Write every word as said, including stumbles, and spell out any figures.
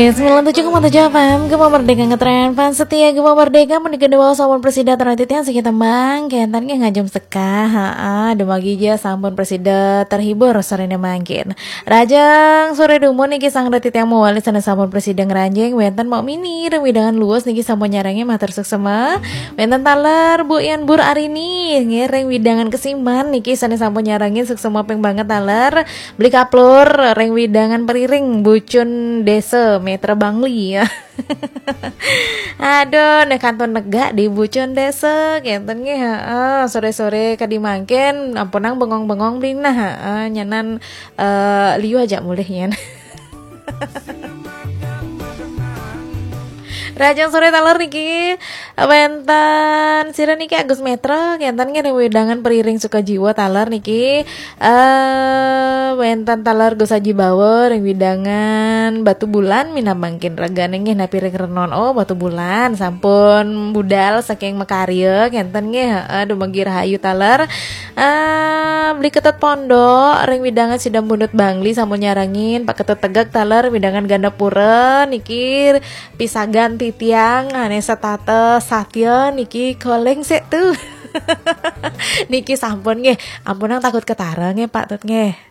Sembilan tujuh koma tujuh F M, Gema Merdeka ngetren. Fans setia Gema Merdeka, mending gede wae sampun presida terhati tiang siki tembang. Kentan nggih ngajum sekah. Heeh, dumagi ja sampun presida terhibur sorene mangkin. Rajang sore dumun niki sang reti tiang mawali sana sampun presida ngranjing. Wenten Mok Mini, reng widangan luwes niki sampun nyarangi matur suksema. Wenten taler Bu Yan Bur Arini, nggih reng widangan Kesiman niki sana sampun nyarangi suksema ping banget taler. Beli kaplur, reng widangan Periring, Bucun Desa, Metra Bangli ya. Aduh, nek kantun negak di Bucun Desa, kenten nggih, heeh. Sore-sore kadi mangkin, ampunang bengong-bengong beli nah, heeh. Nyanan eh, liu aja mulih yen. Rajang sore taler niki wenten sira niki Agus Metra, kenten nggih reng widangan Periring Sukajiwa taler niki. Eh, wenten taler Gus Aji Bawa reng widangan Batu Bulan minamangkin regane nggih napi ring renon. Oh, Batu Bulan sampun budal saking makarya, kenten nggih. Heeh, dumagi rahayu taler. Eh, Beli Ketut Pondok reng widangan Sidam Bundut Bangli sampun nyarangin. Pak Ketut Tegak taler widangan Gandapura niki pisagan titiang ane setata satya niki koleng sik tuh. Niki sampun nggih, ampunang takut ketara nggih Pak Tut nggih.